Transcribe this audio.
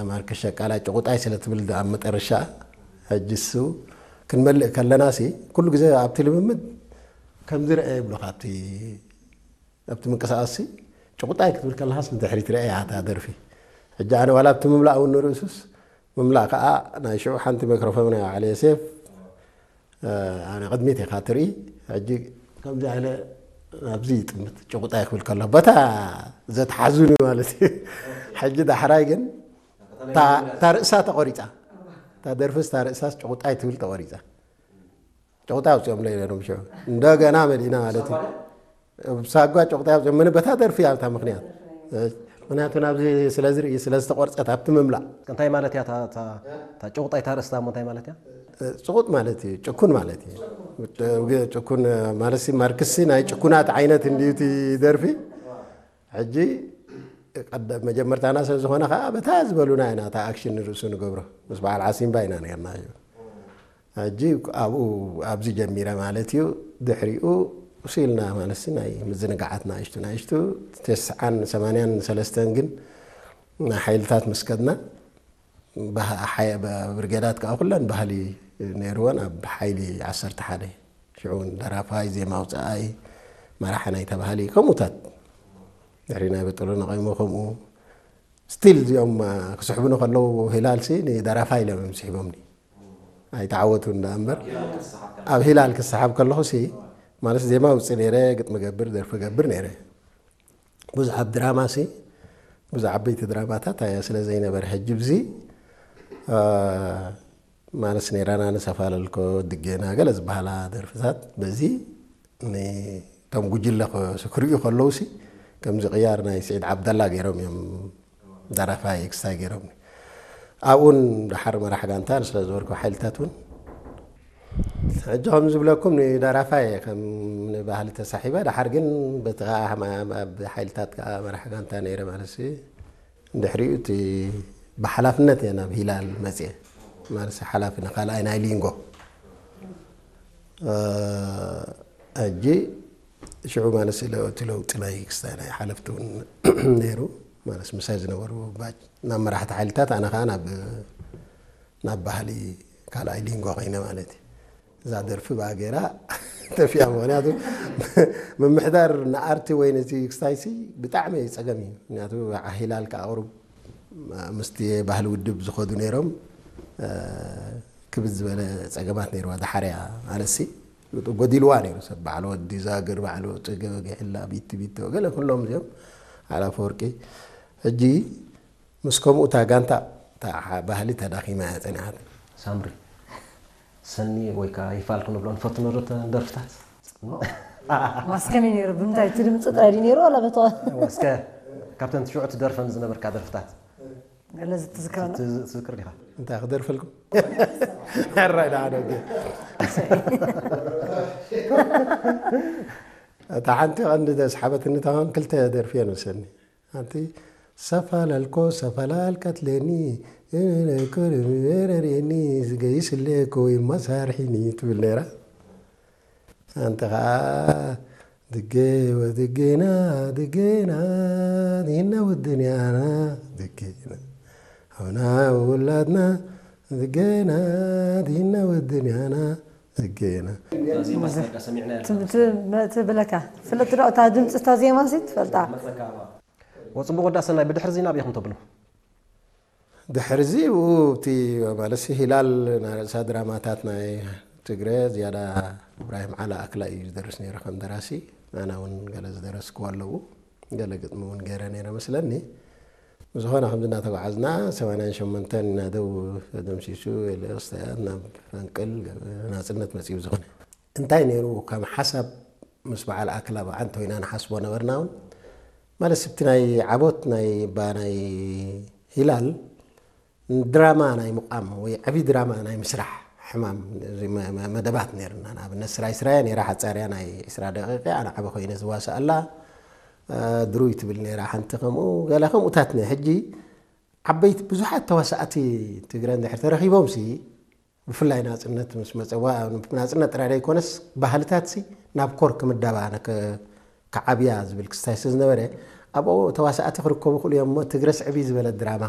ማርከስ ሸቃላ ጭቑጣይ ስለ ትብል ኣብ መጠረሻ ሕጂ እሱ ክንመልእ ከለና ሲ ኩሉ ግዜ ኣብቲ ልምምድ ከምዚ ረአ ይብሉኻ ኣብቲ ኣብቲ ምንቅስቃስ ሲ ጭቑጣይ ክትብል ከለኻስ ንድሕሪት ረአ እያ እታ ደርፊ። ሕጂ ኣነ ዋላ ኣብቲ ምምላእ እውን ንርእሱስ ምምላእ ከዓ ናይ ሽዑ ሓንቲ ማይክሮፎን ናይ ባዕለ ዮሴፍ ኣነ ቅድሚት ኢኻ ትርኢ። ሕጂ ከምዚ ኢለ ኣብዚ ይጥምት ጭቑጣይ ክብል ከሎ በታ ዘትሓዙኒ ማለት እዩ። ሕጂ ዳሕራይ ግን እታ ርእሳ ተቆሪፃ፣ እታ ደርፍስ እታ ርእሳስ ጭቑጣይ ትብል ተቆሪፃ። ጭቑጣይ ኣውፅኦምለይ ነይሮም ሽዑ። እንደገና መሊእና ማለት እዩ። ሳጓ ጭቑጣይ ኣውፅኦም። ምን በታ ደርፊ ኣብታ ምክንያት ምክንያቱ ናብዚ ስለዝርኢ ስለዝተቆርፀት ኣብቲ ምምላእ እንታይ ማለት እያ? ጭቑጣይ ታርእስታ እሞ እንታይ ማለት እያ? ጭቑጥ ማለት እዩ፣ ጭኩን ማለት እዩ። ጭኩን ማለት ማርክሲ ናይ ጭኩናት ዓይነት እንድዩ እቲ ደርፊ። ሕጂ መጀመርታና ሰብ ዝኾነ ከዓ በታ ዝበሉና ኢና እታ ኣክሽን ንርእሱ ንገብሮ። ምስ በዓል ዓሲምባ ኢና ነርና። ሕጂ ኣብኡ ኣብዚ ጀሚረ ማለት እዩ። ድሕሪኡ ሲልና ማለት ናይ ምዝንጋዓት ናእሽቱ ናእሽቱ ተስዓን ሰማንያን ሰለስተን ግን ሓይልታት ምስ ከድና ብርጌዳት ከዓ ኩለን ባህሊ ነይርወን ኣብ ሓይሊ ዓሰርተ ሓደ ሽዑ እውን ደራፋይ ዜማ ኣውፅኣይ መራሒ ናይታ ባህሊ ከምኡታት ድሕሪ ናይ በጠሎ ነቐይሞ ከምኡ ስቲል እዚኦም ክስሕቡኒ ከለዉ ሂላልሲ ንደራፋይ ኢሎም እዮም ስሒቦምኒ ኣይተዓወቱ እንዳ እምበር ኣብ ሂላል ክሰሓብ ከለኹ ሲ ማለት ዜማ ውፅእ ነይረ ግጥሚ ገብር ደርፊ ገብር ነይረ ብዙሕ ኣብ ድራማ ሲ ብዙሕ ዓበይቲ ድራማታት ኣያ ስለ ዘይነበረ ሕጂ ብዚ ማለት ኔራና ንሰፋለልኮ ድጌና ገለ ዝበሃላ ደርፍታት በዚ ንቶም ጉጅለ ክሪኡ ከለውሲ ከምዚ ቅያር ናይ ስዒድ ዓብደላ ገይሮም እዮም ደራፋይ ክስታይ ገይሮም ኣብኡን ደሓር መራሕ ጋንታ ስለ ዝበልኩ ሓይልታት እውን ሕጂ ከም ዝብለኩም ንደራፋይ ከም ንባህሊ ተሳሒበ ደሓር ግን በቲ ከዓ ኣብ ሓይልታት ከዓ መራሕ ጋንታ ነይረ ማለት ድሕሪኡ እቲ ብሓላፍነት እየ ናብ ሂላል መፅየ ማለት ሓላፊ ንካልኣይ ናይ ሊንጎ ሕጂ ሽዑ ማለት እቲ ለውጢ ናይ ክስታይ ናይ ሓለፍቲ እውን ነይሩ ማለት ምሳይ ዝነበሩ ባጅ ናብ መራሕቲ ሓይልታት ኣነ ከዓ ናብ ናብ ባህሊ ካልኣይ ሊንጎ ኮይነ ማለት እዩ እዛ ደርፊ ብኣገራ ተፊያ ምክንያቱ ምምሕዳር ንኣርቲ ወይ ነዚ ክስታይሲ ብጣዕሚ ፀገም እዩ ምክንያቱ ሂላል ከዓ ቁሩብ ምስቲ ባህሊ ውድብ ዝኸዱ ነይሮም ክብድ ዝበለ ፀገማት ነይርዋ ዳሓርያ ማለትሲ ጎዲልዋ ነይሩ ሰብ ባዕሉ ወዲ ዛግር ባዕሉ ፅገበ ገሕላ ቢቲ ቢቶ ገለ ኩሎም እዚኦም ኣላፈወርቂ ሕጂ ምስ ከምኡ እታ ጋንታ እታ ባህሊ ተዳኺማ እያ ፀኒሓት። ሳምሪ ሰኒ ወይ ከዓ ይፋል ክንብሎ ንፈትኖ ዶ ተን ደርፍታት? ዋስ ከመይ ነይሩ ብምንታይ እቲ ድምፂ ጥራይ ድዩ ነይሩ ዋላ በቲ እስከ ካብተን ትሽዑ ትደርፈን ዝነበርካ ደርፍታት ገለ ዝትዝከረና ትዝክር ዲኻ? እንታይ ክደርፈልኩም? ሕራይ ደኣ ደገ እታ ሓንቲ ቀንዲ ዘስሓበትኒ ተኾን ክልተ ደርፊ እየ ንወሰኒ ሓንቲ ሰፈላለኮ ሰፈላል ቀትለኒ ረርየኒ ዝገይስ ለኮ ይመሳርሒኒ ትብል ነይራ ኣንቲ ከዓ ድጌ ወድጌና ድጌና ዲና ውድንያና ድጌና ሆና ውላድና ድጌና ዲና ውድንያና ድጌና ትብለካ ፍለጥ ዶ እታ ድምፂ እታ ዜማ ሲ ትፈልጣ ወፅቡቅ ወዳ ሰናይ ብድሕሪ ዜና ኣበይ ኢኹም ተብሉ ድሕርዚ ብኡ እቲ ማለትሲ ሂላል ናይ ርእሳ ድራማታት ናይ ትግረ ዝያዳ እብራሂም ዓላ ኣክላ እዩ ዝደርስ ነይሩ ከም ደራሲ ኣና እውን ገለ ዝደረስክዎ ኣለዉ ገለ ግጥሚ እውን ገይረ ነይረ መስለኒ ብዝኾነ ከምዚ እናተጓዓዝና ሰማንያን ሸሞንተን ኢና ደው ተደምሲሱ ኤልዮስ ናብ ፈንቅል ናፅነት መፂኡ ዝኾነ እንታይ ነይሩ ከም ሓሳብ ምስ በዓል ኣክላ ብዓንተ ኢና ንሓስቦ ነበርና እውን ማለት ስብቲ ናይ ዓቦት ናይ ባ ናይ ሂላል ድራማ ናይ ምቋም ወይ ዓብዪ ድራማ ናይ ምስራሕ ሕማም መደባት ነርና ንኣብነት ስራይ ስራያ ነራ ሓፃርያ ናይ ዕስራ ደቂቀ ኣነ ዓበ ኮይነ ዝዋስኣላ ድሩይ ትብል ነራ ሓንቲ ከምኡ ገለ ከምኡታት ነ ሕጂ ዓበይቲ ብዙሓት ተዋሳእቲ ትግረ እንድሕር ተረኺቦም ሲ ብፍላይ ናፅነት ምስ መፀዋ ናፅነት ጥራይ ዘይኮነስ ባህልታት ሲ ናብ ኮር ክምደባ ክዓብያ ዝብል ክስታይ ስለ ዝነበረ ኣብኡ ተዋሳእቲ ክርከቡ ክእሉ እዮም እሞ ትግረስ ዕብይ ዝበለ ድራማ